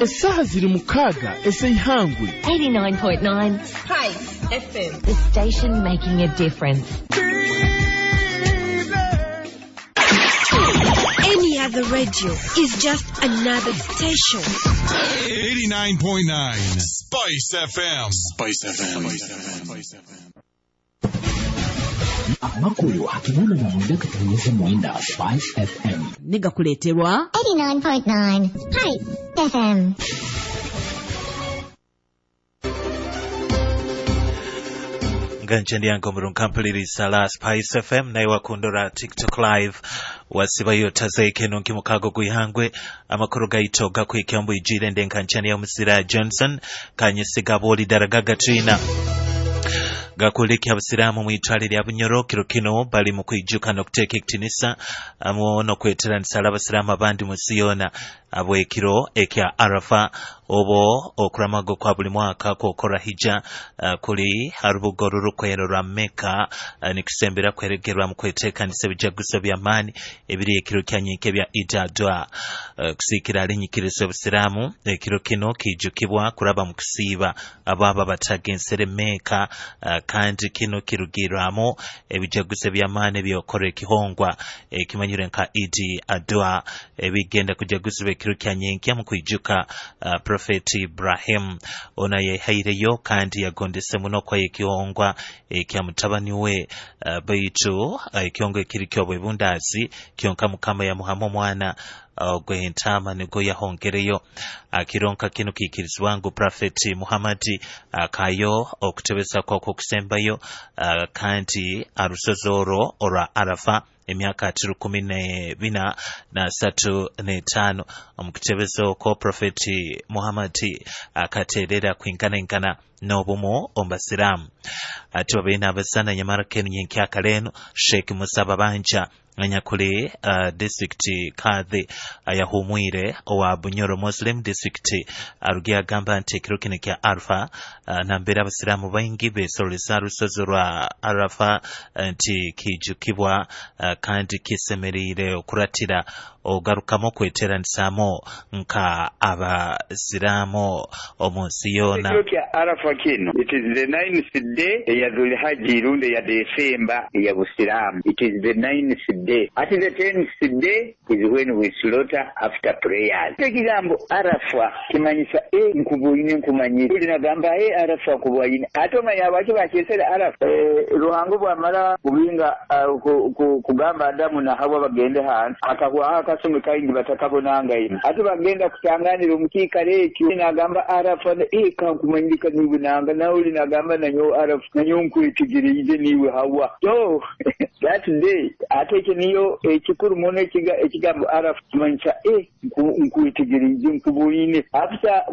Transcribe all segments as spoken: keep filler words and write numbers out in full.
Esaha ziri mukaaga ez'eihangwe. eighty-nine point nine Spice F M. The station making a difference. Any other radio is just another station. eighty-nine point nine Spice F M. Spice F M. Spice F M. Amakuru hakimuna na mwenda katangaza mwenda Spice F M. Niga kuleterwa eighty-nine point nine Spice F M. Nganchendi yango murunkampuliriza la Spice F M naye wakundora TikTok live wasibayo tazeike nonki mukago gwihangwe amakuru gaito gakwikembu ijire ndenkanchani ya Musira Johnson kanyisiga boli daragaga twina gakuliki abasiramu mwitwale lya Bunyoro kiro kino bali mu kwijuka no kuteka ekitinisa amo no kweteranisa abasiramu abandi mu Siyona abwekiro ekya Arafa obo okuramago kwa buli mwaka kwokora hija uh, kuli harubugo rurukwero rwa Mecca uh, nikusembera kweregerwa mu kwetekanisa ebijaguzo by'amaani ebiri ekiro kya nyinke bya Eid al-Adha uh, kusikira alinyikiriza obusiramu ekiro kino kijukibwa kuraba mu kusiiba ababa batagensere Mecca uh, kandi kino kirugirwamo ebijaguzo by'amaani byokora ekihongwa ekimanyire nka Eid al-Adha ebigenda kujaguzibwa ekiro kya nyenkya mu kwijuka uh, Prophet Ibrahim ona yehaireyo kandi yagondese muno kwa ekihongwa ekya mutabani we uh, baitu uh, ekihongwa ekiri ky'obwebundaazi kyonka Mukama yamuhamu omwana ogw'entaama nigo yahongereyo akironka kino kiikirizibwa ngu Prophet Muhammad akayo okutebeza kwako okusembayo uh, kandi arusozi orwo orwa Arafa emyaka atatu kumi ne bina na satu ne tano omukutebezo okwo Prophet Muhammad akaterera kwingana n'obumu omu basiraamu ati babeine abasana nyamara kenu nyenkyaka leno Sheikh Musa Babanja anyakuli uh, district kadhi ayahumwire owa Bunyoro Muslim District arugia agamba nti ekiro kino kya Arafa uh, nambere abasiraamu baingi besoroleza rusozi rwa Arafa nti kijukibwa uh, kandi kisemerire okuratira ogarukamu okweteranisa nka abasiraamu omu nsi yoona. Ekiro kya Arafa kino, it is the ninth day eya Dhulhajji rundi eya Desemba eya Busiraamu. It is the ninth day. At the tenth day is when we slaughter after prayers. Ekigambo Arafa kimanyisa e nkubuine nkumanyire. Uli nagamba e Arafa kubuine. Ate omanya abaki bakyesera Arafa. E, Ruhango bwamala kubinga uh, ku, ku, kugamba Adamu na Hawa bagende hansi akahwaho akasumi kaingi batakabonanga ino. Ate bagenda kutanganira omukiikaro ekyo nagamba Arafa e kankumanyirika niwe nanga nawe uli nagamba nanyo Arafa nanyo nkwetegereize niwe Hawa. So that day ate ekyo niyo ekikuru muno ekigambo Arafa kimanyisa e nkwetegereize nkubuine. After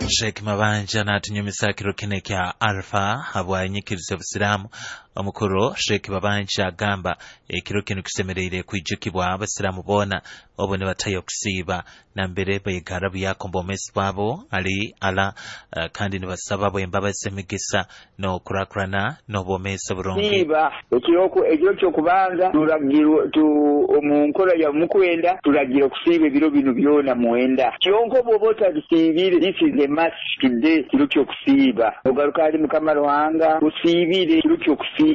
Sheikh Mabanja n'atunyumisa kiro kino kya Arafa habwanyikiriza obusiraamu. Omukuru Sheikh Babanja agamba ekiro kino kisemereire kwijukibwa abasiraamu boona obo nibatayo okusiiba nambere bayigara buyakomba omwezi bwabo ali ala uh, kandi nibasaba bwembabazi emigisa n'okurakurana n'obwomeezi oburungi. Siiba ekiro ky'okubanza turagirwa omu nkora ya mukwenda turagira okusiiba ebiro bino byona mwenda kyonka bw'oba otabisiibire, this is a must today kiro ky'okusiiba ogaruka ali Mukama Ruhanga osiibire kiro ky'okusiiba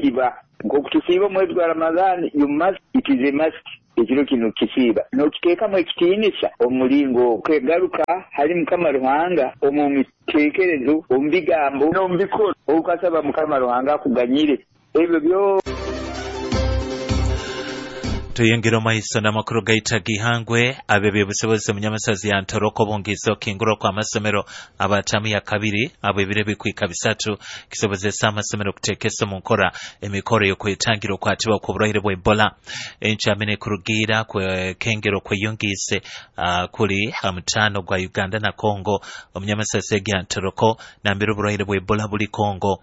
nk'okutusiiba omwezi gwa Ramadhani, you must, it is a must ekiro kino kisiiba n'okiteekamu ekitiinisa omulingo kwegaruka hali Mukama Ruhanga omu miteekerezo omu bigambo n'omu bikorwa okasaba Mukama Ruhanga akuganyire ebyo byo. Tuyengera omaiso n'amakuru gaita gihangwe ab'ebyobusobozi omunyamasazi ya Ntoroko bungiza okingurwa kw'amasomero abatamu ya kabiri abo ebiro ebikwika bisatu kisobozesa amasomero okuteekesa omu nkora emikoro y'okwetangira okwatibwa kw'oburwaire bwa Ebola. Encamene kurugiira kwekengero kweyungiise uh, kuli hamutaano gwa Uganda na Congo omunyamasasi egi ya Ntoroko nambere oburwaire bwa Ebola buli Congo.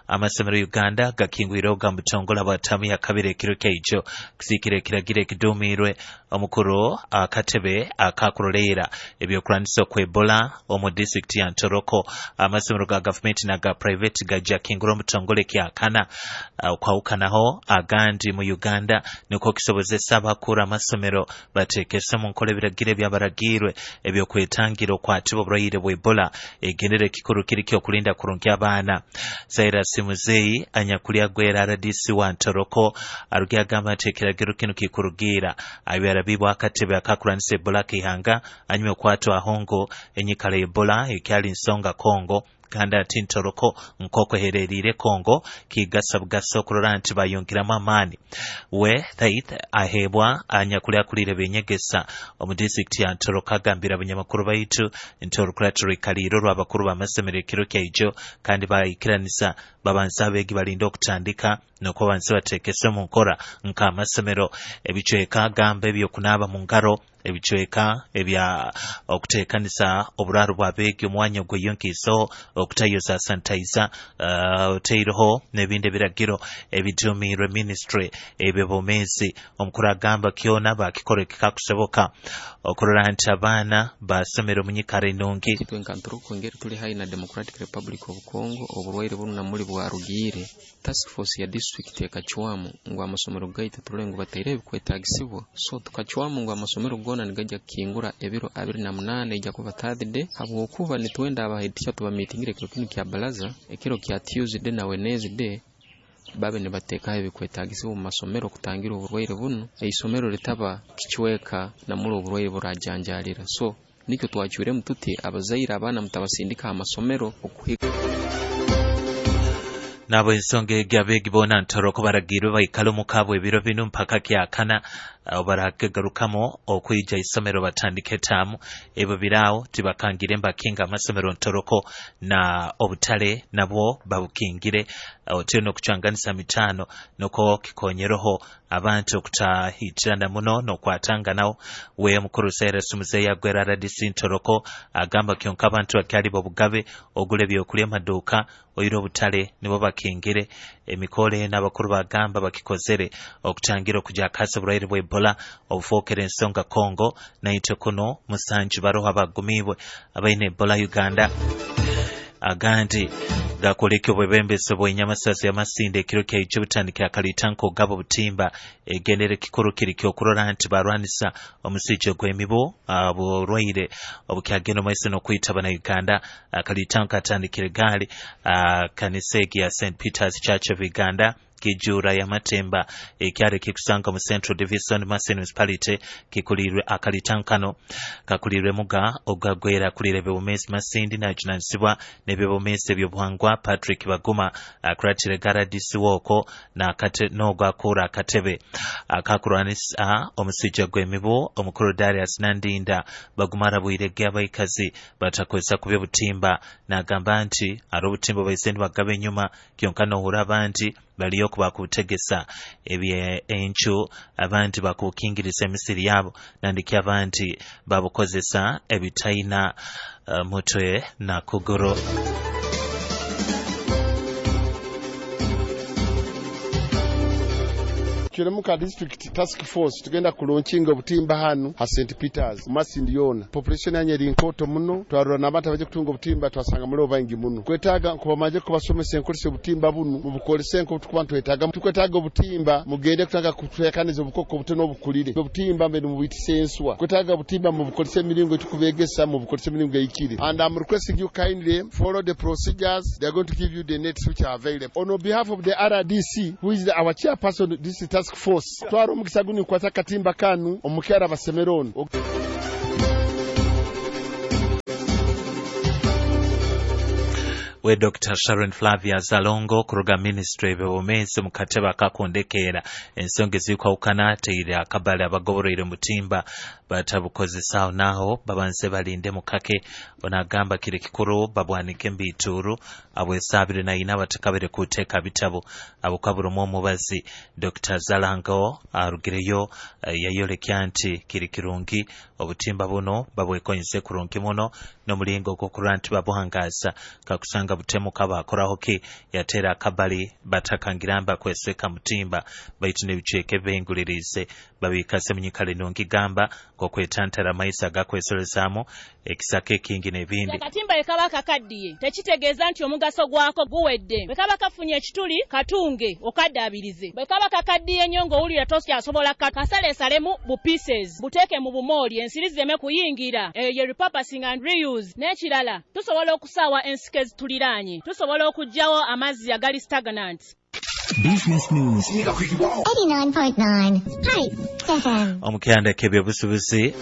Amasomero Uganda gakingwire oga mutongola abatamu ya kabiri ekiro kyaijo kusiikira ekiragiro Ekiragiro ekiduumiirwe omukuru akatebe akakuroleera ebyokurwanisa okwa Ebola omu disitulikiti ya Ntoroko. Amasomero ga gavumenti naga private gajja kingura omutongole kyakana okwawukanaho agandi mu Uganda nikwo kisobozesa abakuru amasomero bateekese mu nkola ebiragiro ebyabaragirwe ebyokwetangira okwatibwa oburwaire bwa Ebola. Ekigendere ekikuru kiri kyokulinda kurungi abaana. Cyrus Muzeyi anyakulya gwera R D C wa Ntoroko arugi agamba nti ekiragiro kino kikurugira abyarabibwa akatebe akakuranisa Ebola kihanga anyuma okwatwa ahongo enyikala Ebola ekyali nsonga Kongo kandi ati Ntoroko nkoko hererire Kongo kigasa bugasa okurora nti bayongeramu amaani. We Thaith ahebwa anyakulya kulire benyegesa omu disitulikiti ya Ntoroko agambira abanyamakuru baitu nti orukurato rwikaliro rw'abakuru b'amasomero ekiro kyaijo kandi bayikiranisa babanza abeegi balinda okutandika nokwo bansi bateekese mu nkora nk'amasomero ebicweka agamba ebyokunaaba mu ngaro ebicweka ebya okuteekanisa oburaaro bw'abeegi omwanya ogweyonkiiso okutayoza sanitizer uh, oteireho n'ebindi ebiragiro ebiduumirwe ministry eby'obwomeezi. Omukuru agamba kyona bakikora ekikakusoboka okurora nti abaana basomera omu nyikara enungi. Itwe nka Ntoroko ngeri tuli haihi na Democratic Republic of Congo oburwaire bunu namuli bwarugiire. Task force ya district ekacwamu ngu amasomero gaitu turole ngu bataire ebikwetagisibwa, so tukacwamu ngu amasomero gona nigajja kukingura ebiro abiri na munaana ejja kuba Thursday, habwokuba nitwenda abaheadteacher tubamitingire ekiro kinu kya baraza ekiro kya Tuesday na Wednesday babe nibateekaho ebikwetagisibwa omu masomero kutangira oburwaire bunu, eisomero litaba kicweka namuli oburwaire burajanjalira. So nikyo twacwiremu tuti abazaire abaana mutabasindika amasomero okuhika. Nabo ensonga egi abeegi boona Ntoroko baragirwe baikale omu kaabwe ebiro binu mpaka kyakana baragarukamu okwija isomero batandike taamu. Ebyo biraawo tibakangire mbakinga amasomero Ntoroko na obutale nabwo babukingire otyo n'okucwanganisa mitaano noko kikonyereho abantu okutahitirana muno n'okwatanganaho. We omukuru Cyrus Muzeyi agwera R D C Ntoroko agamba kyonka abantu bakyali bobugabe ogula ebyokulya amaduuka oire obutale nibo bakingire. Emikole n'abakuru bagamba bakikozere okutangira okujakasa oburwaire bwa Ebola obufookera ensonga Kongo naitwe kuno musanju baroho abagumiibwe abaine Ebola Uganda. Agandi gakoleka obwebembezi bw'enyamasasi y'amasinde ekiro kyaijo butandikira akalitanko gabo butimba egendere kikuru kiri kyokurora nti barwanisa omusijja gw'emibu oburwaire obukyagenda omaiso n'okwita bannayuganda. Akalitanko katandikire gaali kanisa egi ya Saint Peter's Church of Uganda kijura ya Matemba ekyari kikusanga mu Central Division Masindi Municipality kikulirwe akalitankano kakulirwe muga ogagwera kulire bebomesi Masindi najunanisibwa n'ebyobomesi ebyobuhangwa Patrick Baguma akuratire garadisi woko na kate n'ogwakura akatebe akakurwanisa omusijja gw'emibu omukuru Darius Nandinda. Baguma arabwirege abaikazi batakozesa kubya obutimba n'agamba nti ari obutimba baise nibagaba enyuma kyonka nohura abandi baliyo kubakutegesa ebye enchu abandi bakukingiriza emisiri yabo nandiki abandi babukozesa ebitaina uh, mutwe na kuguru. Kiremuka district task force tugenda kulaunchinga obutimba hanu ha Saint Peters Masindi yona population yanye eri nkoto muno twarura n'abantu abaje kutunga obutimba twasanga muri bangi muno kwetaga kubamaje kubasomesa enkolesa obutimba bunu mubukolese enko tukuba twetaga tukwetaga obutimba mugende kutanga kutwekaniza obukoko obutono obukulire obutimba mbe mubitise enswa kwetaga obutimba mubukolese emiringo tukubegesa mubukolese emiringo eyikire. And I'm requesting you kindly follow the procedures. They are going to give you the nets which are available. On behalf of the R D C, who is the, our chairperson this task force, twara omukisa guni kwata katimba kanu omukyara basemerono. We Doctor Sharon Flavia Zalongo kuruga ministry ebyobumeezi mu katebe akakondekera ensonga ezikwawukana teire akabale abagoboroire mutimba batabukozesa naho babanze balinde mukake. Onagamba kiri kikuru babwanike mbituru abwesabire na ina batakabire kuteka bitabo abukaburo mu mubazi. Doctor Zalango arugireyo yayolekya nti kiri kirungi obutimba buno babwekonyeze kurungi muno n'omulingo gw'okurora nti babuhangaza kakusanga butemu kaba akoraho ki yatera akabali batakangiramba kweseka mutimba baitu n'ebicweka ebihingulirize babikase munyikale nungi gamba ng'okwetantara amaisa agakwesolezaamu ekisaka ekingi n'ebindi. Akatimba ekaba kakaddiye tekitegeeza nti omugaso gwako guwedde. Bwe kaba kafunye ekituli katunge okaddaabirize. Bwe kaba kakaddiye nnyo ng'owulira tokyasobola kasaleesalemu bu pieces buteeke mu bumooli ensiri zireme kuyingira. Eyo ye repurposing and reuse. N'ekirala tusobola okusaawa ensiko ezituliraanye, tusobola okuggyawo amazzi agali stagnant. Business News eighty-nine point nine Spice F M. Omukyanda k'ebyobusuubuzi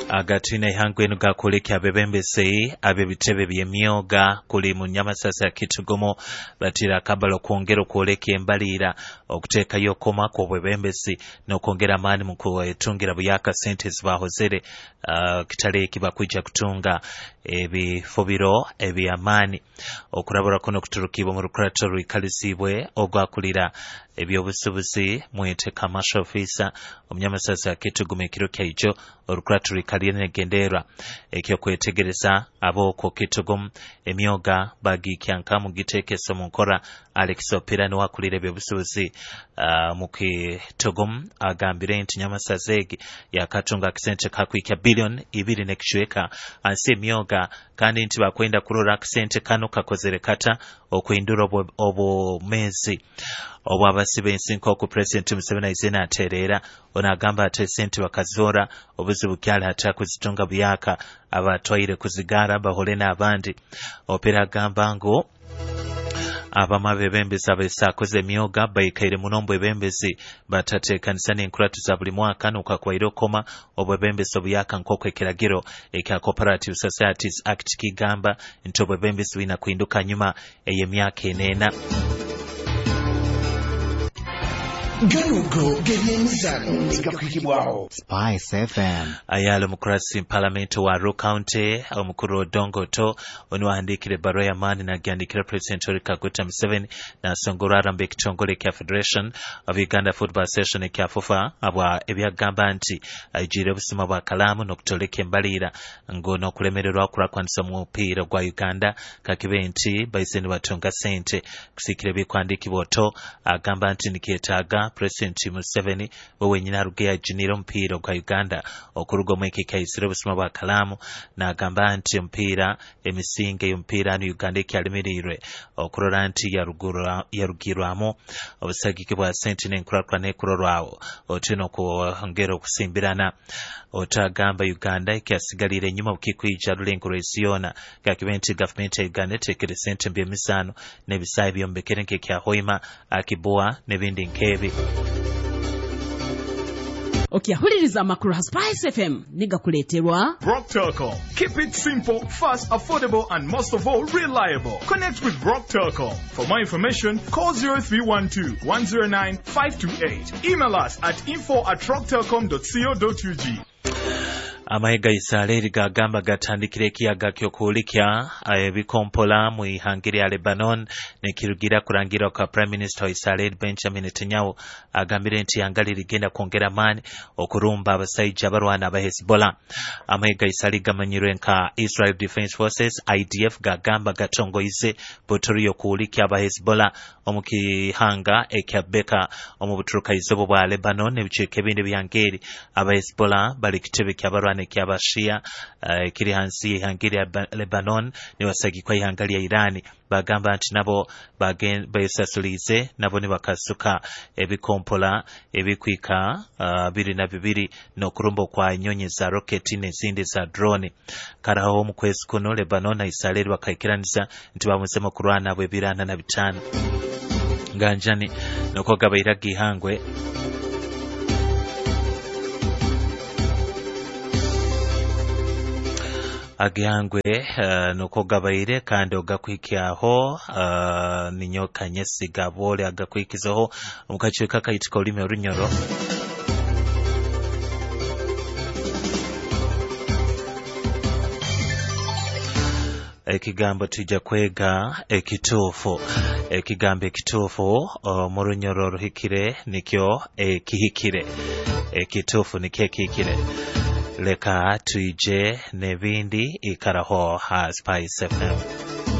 agatwine ihangwe enu gakulekya abebembezi ab'ebitebe by'emyoga kuli mu Nyamasasa ya Kitugumo batira akabalo okwongera okwoleka embaliira okuteekayo okoma kw'obwebembezi n'okwongera amaani mu kwetungira buyaka sente zibahozere uh, kitali eki bakwija kutunga ebifubiro eby'amaani. Okurabura kuno kuturukibwa mu rukurato rwikalizibwe ogwakulira ebyobusuubuzi mwete commercial officer omunyamasasa ya Kitugumo ekiro kyaijo orukurato rwikaliye negenderwa ekyokwetegereza ab'okwo Kitugumu emyoga bagikyankamu giteekesa mu nkora. Alex Opira niwakulira ebyobusuubuzi uh, mu Kitugumu agambire nti Nyamasasa egi yakatunga akasente kakwikya billion ibiri n'ekicweka ansi emyoga kandi nti bakwenda kurora akasente kano kakozere kata okuhindura obumezi obwabasiba ensi nk'oku President Museveni aizena atereera. Ono agamba ate esente bakazora obuzibu kyali ate kuzitunga buyaka abatwaire kuzigara bahole n'abandi. Opera agamba ngu abamu abebembezi abesakoze emyoga baikaire muno mbwebembezi batateekanisa n'enkuratu za buli mwaka n'okakwaire okoma obwebembezi obuyaka nk'oku ekiragiro ekya Cooperative Societies Act kigamba nti obwebembezi bwina kuhinduka nyuma ey'emyaka eneena. Ganugo g'ebyemizano gakwikibwaho Spice F M. Ayala omukurasi parliament wa Arua County omukuru Odongo Otto oniwahandikire ebbaruwa y'amaani nagihandikira President Yoweri Kaguta Museveni nasongora aramba ekitongole kya Federation of Uganda Football Association ekya FUFA abwa ebyagamba nti aijire obusuma bwa kalaamu n'okutoleka embaliira ngu n'okulemererwa okurakwanisa omupiira gwa Uganda kakibe nti baise nibatunga sente kusikira ebikwandikibwa. Otto agamba nti nikyetaaga President Museveni we wenyini aruge yajinira omupiira gwa Uganda okuruga omweke kaisire obusuma bwa kalaamu n'agamba nti omupiira emisinge y'omupiira anu Uganda ekyalimirirwe okurora nti yarugirwamu obusagiki bwa sente n'enkurakurana ekurorwawo otyo n'okwongera okusimbirana. Otto agamba Uganda ekyasigalire enyuma bukikwija rulengo rw'ensi yoona kakibe nti gavumenti ya Uganda eteekere sente mu by'emizaano n'ebisaawe byombekere nk'ekya Hoima, Akibua n'ebindi nk'ebi. Okyahuliriza amakuru ha Spice F M nigakuleeterwa Rock Telcom. Keep it simple, fast, affordable and most of all reliable. Connect with Rock Telcom. For more information, call zero three one two, one zero nine, five two eight. Email us at info at rocktelcom dot co dot U G. Amahe ga Israeli gagamba gatandikire ekiyaga ky'okuhulikya ebikompola mu ihanga lya Lebanon nekirugira kurangira kwa Prime Minister wa Israeli Benjamin Netanyahu agambire nti ihanga lirigenda kwongera amaani okurumba abasaija abarwana aba Hezbollah. Amahe ga Israeli gamanyirwe nka Israel Defense Forces I D F gagamba gatongoize potori y'okuhulikya aba Hezbollah omu kihanga ekya Beka omu buturukaizobo bwa Lebanon ebicweka ebindi byangeri. Aba Hezbollah bali kitebe ky'abarwana ky'abashia uh, kiri hansi y'ihanga lya Lebanon nibasagikwa ihanga lya Irani bagamba nti nabo besasulize nabo nibakasuka ebikompola ebikwika uh, biri na bibiri n'okurumba kwa nyonyi za roketi n'ezindi za drone. Karaho mu kwezi kuno Lebanon na Israeli bakaikiranisa nti bamuzemu kurwana bw'ebirana na bitano nganjani nokogaba ihangwe. Agihangwe uh, nuko gabaire kandi ogakwikyaho uh, ninyoka nyesiga bole agakwikizaho mukacweka kayitika olulimi orunyoro. Ekigambo tujja kwega ekituufu. Ekigambo ekituufu mu runyoro ruhikire nikyo ekihikire. Ekituufu nikyo ekihikire. Leka tuije n'ebindi ikaraho ha Spice F M.